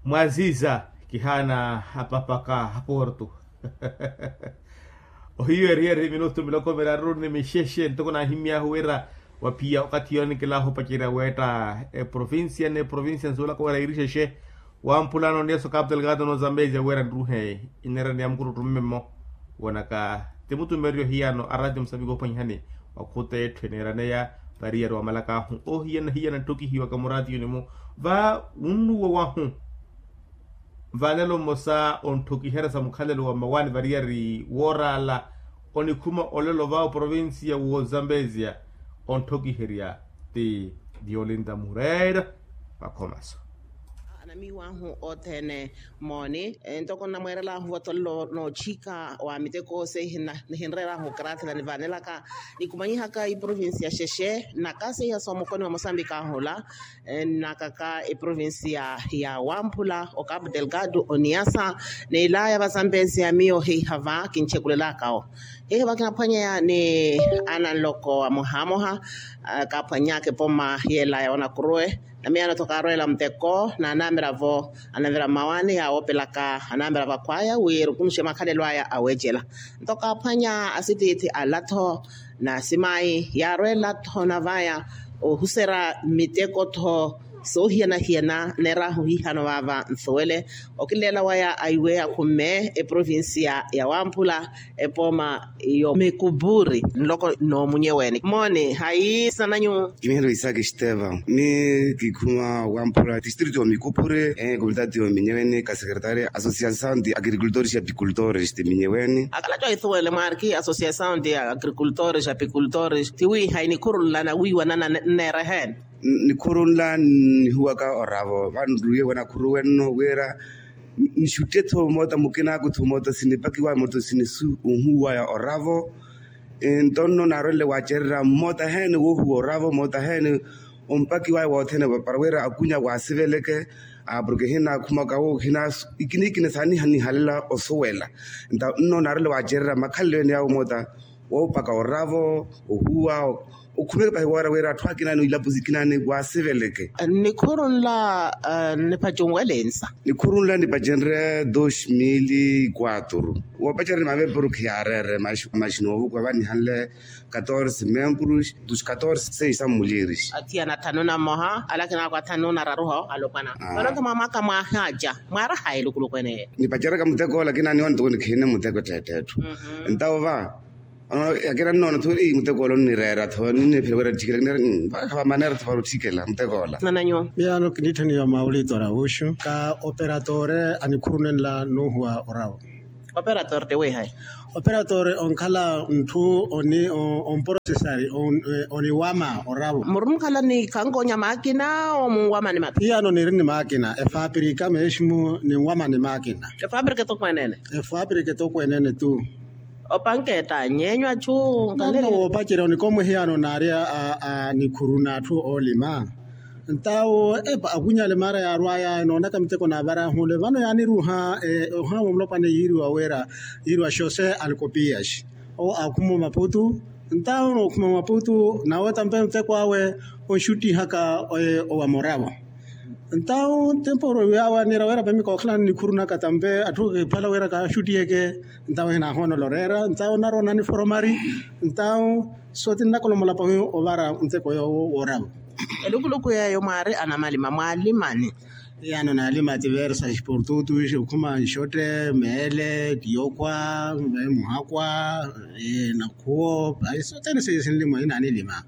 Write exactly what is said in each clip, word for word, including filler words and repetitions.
Mwaziza kihaana apapaka aporto. Ohiyo eriyari minutu miloko miraru ni mixexe ntoko naahimmy'ahu wira waphiya okathi yoonikela ohopacerya weetta eprovincia n'eprovincia nsuwelaka wira irixexe. Wamphulano niyeso kapitelkaato n'ozambezia wira nruhe ineera ni ya mukuruttu mmemmo. Wonaka ti mutumereryo hiyano araati musapika ophwanyihani wakhuta etthu eneeraneya. Variyari wamalak'ahu ohiyana hiyana nttokihiwaka muraatiyuni-mu va wunnuwa wahu. Vanelo mmosa ontthokiherya sa mukhalelo wa mmawaani variyari wooraala onikhuma olelo va oprovincia w'ozambezia ontthokiherya ti violinda mureira. Vakhomaso anamiiwahu othene mooni. Ntoko nnamweerelaahu vatolelo nootthika wa miteko seihi nihinreeraahu karathela nivaanelaka nikumanyihaka iprovincia xexe nnakaseiha soomukoni wa mosambika ahula. Nnakaka eprovincia ya wamphula okapu delgado oniasa n'ilaya vazambezia miyo heiha va kintthekulelaka-wo. Heiha va kinaphwanyeya ni ananloko amohamoha kaphwannyaka epoma y'elaya onakuruwe. Namiyano-tho kaarweela muteko n'anamiravo anavira mmawaani yaawoopelaka anamira vakhwaya wi erukunuxe makhalelo aya aweecela. Nto kaaphwanya asitiithi ala-tho n'asimayi yaarweela-tho navaya ohuserya miteko-tho soohiyana-hiyana neeraahu hihano vaava nsuwele. Okileela waya aiwe akhumme eprovincia ya wamphula epooma yo mikupuri nloko n'omunyeweeni mooni hayi sananyu. Kimiheryo isaki estevan ni kikhuma wamphula distrito yo mikupuri. Komitati yo minyeweeni ka sekretaria associação de agricultores e apicultores ti minyeweeni. Akalaco ahithuwele mwaari ki associação de agricultores e apicultores ti wi hayi nikhuru nla nawiiwa nana nneera eheeni. Nikhuru nla nihuwaka oravo vanruye wanakhuruwe nno wira nixutte-tho moota mukina akuthu moota sinipakiwa moota sinisu ohuwaya oravo. Nto nno naarwenle waacererya moota heene woohuwa oravo moota heene ompakiwaya wothene para wira akunya waasiveleke. Porke hinakhumaka wo ikina ikina saanihanihalela osuwela. Nto nno naarwenle waacererya makhalelo ene yawo moota woopaka oravo ohuwa okhumeke pahi woora wira atthu akina ni ilapo sikina ni waasiveleke. Nikhuru nla nipaci onwelensa. Nikhuru nla nipacenrye dos mil e quatro. Woopacerya ni mameporukhi yaareere maxi noovukwa vanihanle catorze membros dos catorze seis a mulheres. Athiyana athanu na mmoha alakina ako athanu na raru ho alopwana. Vano-tho mwa mwaka mwaahaca mwaaraha elukuluku eneyo. Nipaceryaka muteko lakini aniwani toko nikhiine muteko tteetteetthu. Ntawo va ono yakina nnoona-tho ei muteko ola onnireera-tho ninniphira wira tthikela kinera mpakha vamaneera-tho para otthikela muteko ola. Nananyu. Miyano kiniitthaniwa mawulito aravuxu ka operatore anikhurune nla nuuhuwa oravo. Operator ti wiihayi? Operator onkhala ntthu oniprocessari oniwama oravo. Murumukhala ni khankonya makina omunwama ni mapi? Hiyano niri ni makina efapirika meximu ninwama ni makina. Efapirika etokweneene? Efapirika etokweneene tu. Opanketa nyeenyu achu nkalele woopacerya onikomwe hiyano naari a nikhuru n'atthu oolima. Ntawo epa akunyale maara yaarwaya enoonaka miteko naavarahule vano yaaniruha ohaama omulopwana yiiriwa wira yiiriwa xose alkopias. Owo aakhuma omaputu ntawo nookhuma omaputu nawe tampe muteko awe onxuttihaka owa moravo. Ntawo tempo yawe aniira wira pemika okhalana nikhuru naka tampe atthu kiphwala wira kaaxuttiheke. Ntawo hinaahoonela oreera ntawo naroona niforomari. Ntawo sootinnakola omulapa ovara nteko yoowo wooravo. Elukuluku yeeyo mwaari anamalima mwaalimani? Iyano naalima tiversa sportutu ishi okhuma nxotte meele tiyokhwa muhakwa nakhuwo. Ayi sothene seiyo sinlima inaanilima.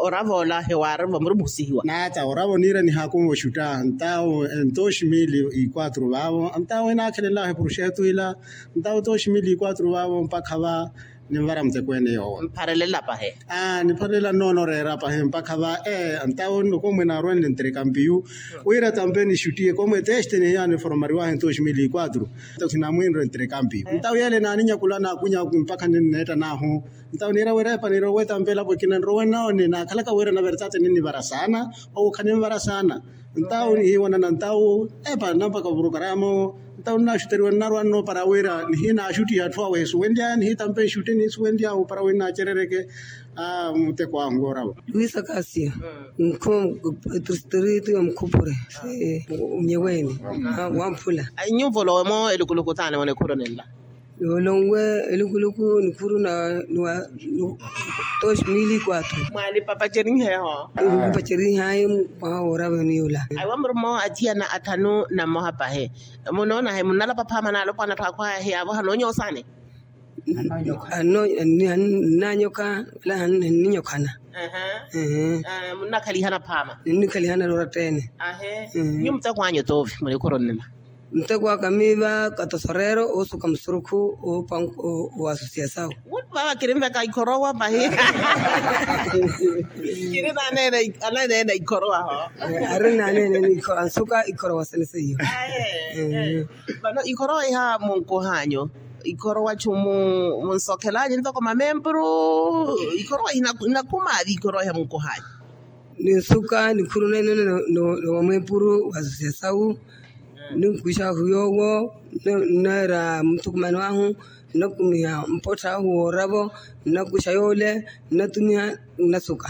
Oravo ola hewaarivo muri muhusihiwa naata oravo niira nihaakumu oxutta ntawo ntoxi mili ikwatru vaavo ntawo inaakhelelaho epuruxetu ila. Ntawo toxi mili ikwatru vaavo mpakha va ninvara muteko ene yoowo. Nipharelela pahe. Nipharelela nnoona oreera pahe mpakha va. Ntawo nno komwe naarwenle nterekampiyu wira tampe nixuttiye komwe teste nihiyano eforomariwahe ntoxi mili ikwatru. Ntawo khinamwiinre nterekampiyu ntawo yeele naaninyakula naakunya mpakha ninneetta naahu. Ntawo niira wira epa niira owetampela pwekina nrowe nawo ninaakhalaka wira na verdade ninnivara saana. Owo khanimvara saana. Ntawo nihiwanana ntawo epa nampaka opurukaramu. Ntawo ninaxuteriwa nnarwa nno para wira nihinaxuttiha atthu awe esuwenlya nihitampa exutti niisuwenlya opara wira naacerereke. Muteko ahu woorava. Luisa kasia nkhu. Etristritu ya mukhupure. Mnyeweni wamphula. Nyuvo lowe mo elukuluku taani mwa nikhuru ninla. Lowe lonwe elukuluku nikhuru na niwa dos mili kwatru. Mwalipapaceriheho. Lipapacerihayi mwaha woorava niyola. Aiwa murumo athiyana athanu na mmoha pahi. Munoonahi munnalapa phaama naalopwana atthu akhwaya hiyavoha noonyosani. Ano ninanyoka wala ninyokhana. Munnakhaliha naphaama. Ninnikhaliha nalorattene. Nyu muteko anyu toovi mulikhuru nnima. Muteko aka miiva katosorero oosuka musurukhu. Wa asosiasawu. Vava kirinveka ikhorowa pahi. Kiri naneene ananeene ikhorowa ho. Ari naneene ansuka ikhorowa sene seiyo. Vano ikhorowa iha munkuhanyu. Ikhorowa chumu munsokhelanyu ntoko mamempuru. Ikhorowa inakhumaavi ikhorowa iha munkuhanyu. Ninsuka nikhuru nainone. Nomwempuru wa asosiasawu. Ninkwishahu yoowo. Nneera muthukumani wahu. Nnakumiha mpottha ahu wooravo. Nnakwisha yoole nnatumiha. Nnasuka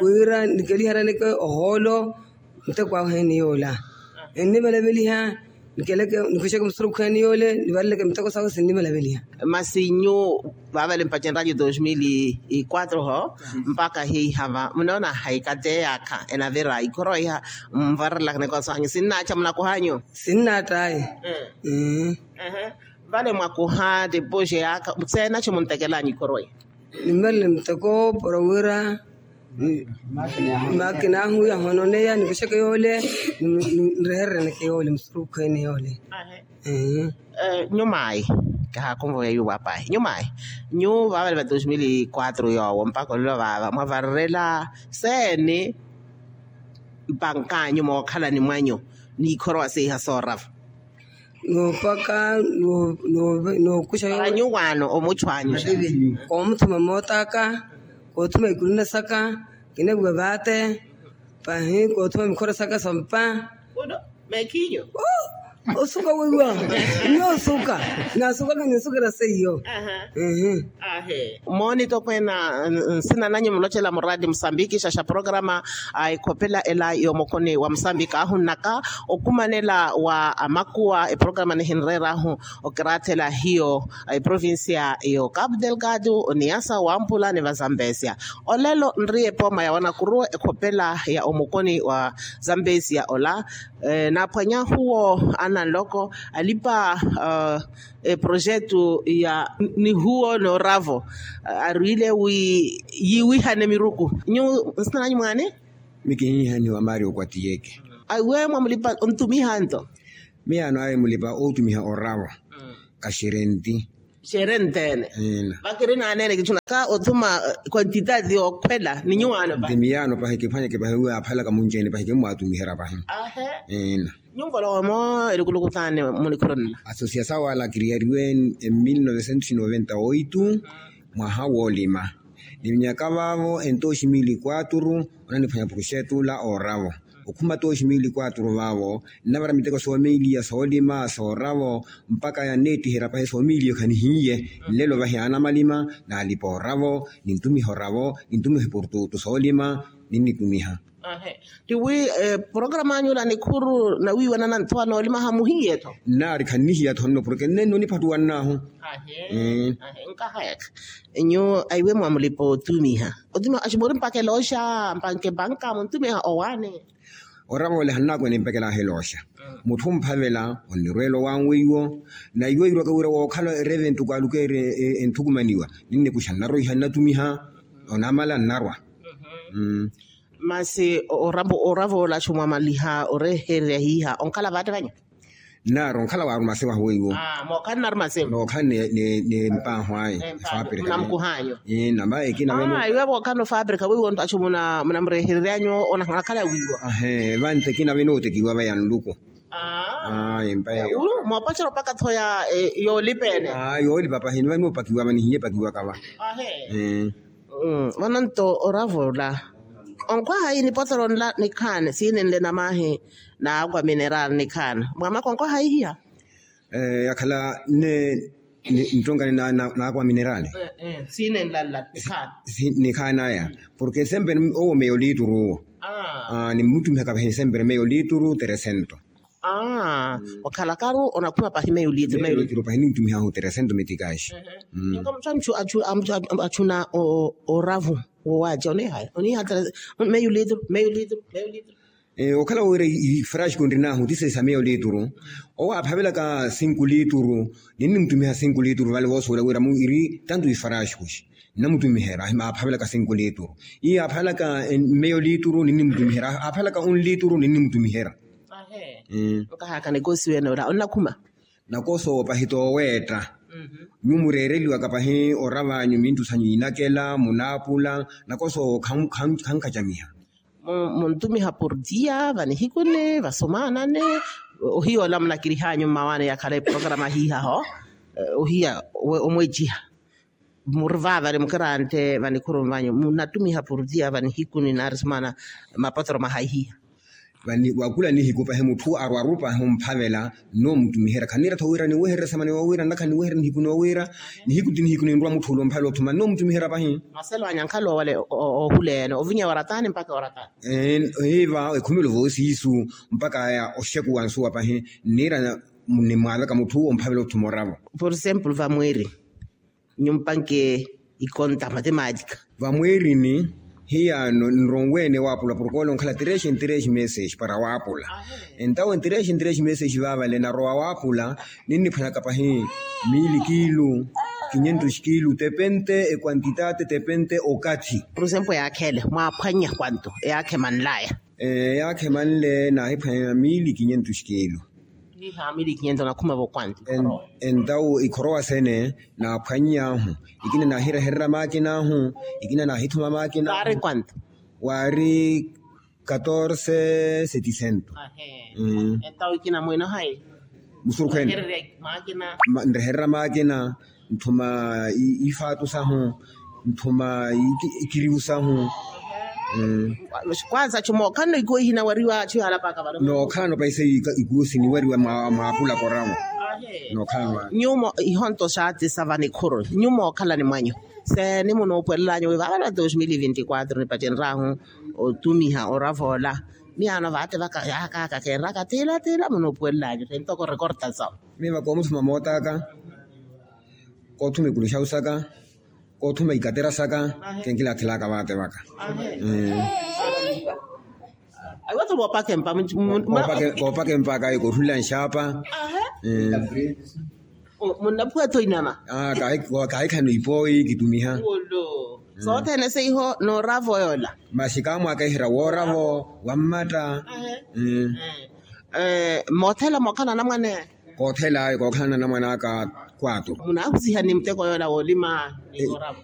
wira nikeliharaneke ohoolo. Muteko ahu heni yoola ennivelaveliha. Nikhwixeke musurukhu heni yoole nivareleke muteko sahu sinnivelaveliha. Masi nyu vavale mpacenryanyu dos mil e quatro ho mpakha hiihava munoona haikateyakha enavira ikhorowa iha. Mvarelaka nikoso hanyu sinnaacha munakuhanyu. Sinnaattayi. Vale mwakuha tipuje yaka seena chimuntekelanyu ikhorowa iha. Nimmarele muteko para wira makina ahu yahononeya nikixeke yoole. Nreherereneke yoole musurukhu ene yoole. Nyumaayi kahakumvo ya yuwapayi nyumaayi. Nyu vavale va dos mil e quatro yoowo mpaka olelo vava mwavarerela seeni mpankanyu mookhalani mwanyu. Niikhorowa seiha soorava. Noopaka nookuxa yoowo. Anyuwaano omuchwaanyuxa. Koomuthuma mootaka koothuma ikuluna saka. Kinaviwa vaate pahi koothuma mikhora saka sampa. Meekhinyu. Osuka weiwa. Nyo osuka. Nasukaka ninsukira seiyo. Mooni tokweena nsina nanyu mulocela muraadi musambiki xaxa programa a ekhopela ela y'omukuni wa musambiki ahunnaka okumanela wa amakuwa eprograma nihinreerahu okiraathela hiyo eprovincia yo capu delgado oniyasa wampula ni vazambesia. Olelo nriye pooma ya wanakuruwe ekhopela ya omukuni wa zambesia ola. Naaphwanyahuwo ananloko alipa eprojetu ya nihuwo nooravo arwile wi yiwihane miruku. Nyu nsina nanyu mwaani? Mi kinyiihaniwa mario kwatiyeke. Aiwe mwamulipa ontumiha nto? Miyaano aye mulipa ootumiha oravo. Kaxerenti. Xerentene. Vakiri naneene kichuna ka othuma quantitati yookhwela ni nyuwaano pahi. Nti miyaano pahi kiphwanyeke pahi wi aaphalaka munci-ene pahi kimmwaatumiherya pahi. Ahe. Nyuvo lowe mo elukuluku taani munikhuru nla? Asosiasawu ala kiriyariwe e mil novecentos noventa oito mwaha woolima. Nivinyaka vaavo en dos mil quatro onaniphwanya proxeto la ooravo. Okhuma dos mil quatro vaavo nnavara miteko soomiliya soolima sooravo mpaka yanneettiherya pahi soomiliya khanihiye. Nlelo vahi aanamalima naalipa oravo nintumiha oravo nintumiha eportutu soolima. Ninnitumiha. Tiwi programa anyu la nikhuru nawiiwanana ntho anoolima hamuhiye-tho? Nnaari khannihiya-tho nno porke nnenno niphattuwannaahu. Nkahayakha. Nyu aiwe mwamulipa otumiha otumiha axi muri mpaka elooxa mpanke mpanka muntumiha owaani. Orava ole hannaakwene mpekelaha elooxa. Mutthu omphavela onnirweela owanweiwo. Na iwo irwaka wira wookhala ereve ntuku alukeere enthukumaniwa ninnikuxa nnarwa iha nnatumiha. Onamala nnarwa. Masi orava olaxu mwamaliha orehererya hiiha onkhala vaate vanyu? Nnaari onkhala waaru masi wahu weiwo. Mookhala nnaari masi. Nookhala ni mpaahu ayi. Fabrika. Namkuhanyu. Namba ekina veno. Iwe vookhala no fabrika weiwo nto axu munamurehereryanyu onakhala wiiwa. Ahe vantekina veno otekiwa vaya nluku. Aa, empa eyo. Ulu moopochera opaka thoya. Yoolipa ene. Aa, yoolipa pahi ni vani opakiwa vani hiye pakiwaka va. Ahe. Vano nto oravo ola onkhwaha yi nipotero nla nikhaani siininle namaahi. N'akwa mineral nikhaani mwamaka onkhwaha yi hiya. Yakhala ne nittonkani n'akwa mineral. Siininla nla nikhaani. Nikhaani aya. Porke sempre owo meyo liituru owo. Nimmutumihaka vahi sempre meyo liituru teresento. Okhalakaru onakhuma pahi meyo liituru meyo liituru pahi nintumihaahu teresento metikaxi. Inka mutthu achuna oravu wowaaja oniihaya oniihaya. Meyo liituru meyo liituru meyo liituru. Okhala wira ifrasku nrinaahu ti sesa meyo liituru. Owo aaphavelaka sinku liituru ninnimutumiha sinku liituru vale voosuwela wira mu iri tantu ifrasku xi nnamutumihera. Aaphavelaka sinku liituru. Iyo aaphavelaka meyo liituru ninnimutumihera aaphavelaka un liituru ninnimutumihera. Nkahaaka nikoosi wene ora onnakhuma. Nakosoowo pahi tooweetta. Nyuwo mureereliwaka pahi ora vanyu mintu sanyu inakela munaapula. Nakosoowo khankachamiha. Muntumiha portia vanihikuni vasomaanani. Ohiya ola munakirihanyu mmawaani yakhala eprograma hiihaho. Ohiya omwejiha muri vaavale mukiraante vanikhurumi vanyu munatumiha portia vanihikuni naari somaana mapotero mahaihiya. Vani wakula nihiku pahi mutthu arwaru pahi omphavela. Nnomutumihera khanniira-tho wira niwehererye samani wawira nnakhala niwehererye nihiku nowira. Nihiku ti nihiku ninrwa mutthu ula omphavela othuma nnomutumihera pahi. Maselo anyankhala owale ohuleene ovinya oratani mpaka oratani. Hiiva ekhumelo voosiisu mpaka aya oxekuwa nsuwa pahi nniira nimwaaveka mutthu omphavela othuma oravo. Por exemplo vamwiiri nyumpanke ikonta matemática. Vamwiirini hiyaano nronweene waapula porke ole onkhala três em três meses para waapula. Entawo en três em três meses vaavale narowa waapula. Ninniphwanyaka pahi mili kiilu quinhentos kiilu tepente equantitati tepente okathi. Por exemplo eyaakhele mwaaphwanya kwanto eyaakhe manlaya. Eyaakhe manle naahiphwanya mili quinhentos kiilu. Niiha mili quinhentos nakhuma vo kwanto. Entawo ikhorowa sene naaphwany'ahu. Ikina naahirehererya maakin'ahu. Ikina naahithuma maakin'ahu. Waari kwanto? Waari catorce setecento. Entawo ikina mwinohayi? Musurukhwene. Nrehererya maakina. Nthuma ifaatu sahu nthuma ikiriwu sahu. Kwansa chumo khanno ikuwo ihinawariwa chuhalapaka vano nookhalano paisa ikuwo siniwariwa mwaapula koramo. Nookhalano. Nyuwo ihonto xaatisa vanikhuru nyuwo mookhalani mwanyu se nimunoopwelelanyu wi vaavana dos mil vinti quatro nipacenryahu otumiha oravoola. Miyaano vaate vaka yaakaaka keenraka tiila tiila munoopuwelel'anyu tentoko rekorta sawo. Miiva koomuthuma moot'aka koothuma ikulu xawu saka koothuma ikatera saka. Kenkilaathelaka vaate vaka. Aiwatho voopakempa. Koopakempaka koothulila nxaapa. Munnaphuwa-tho inama. Kahikhano ipooyi kitumiha. Soothene seiho nooravo yoola. Masi kaamwaakeherya wooravo wammatta. Moothela mookhala anamwane. Koothela ayo kookhala anamwane aka kwaaturu. Munaahusiha ni muteko yoola woolima ni wooravo.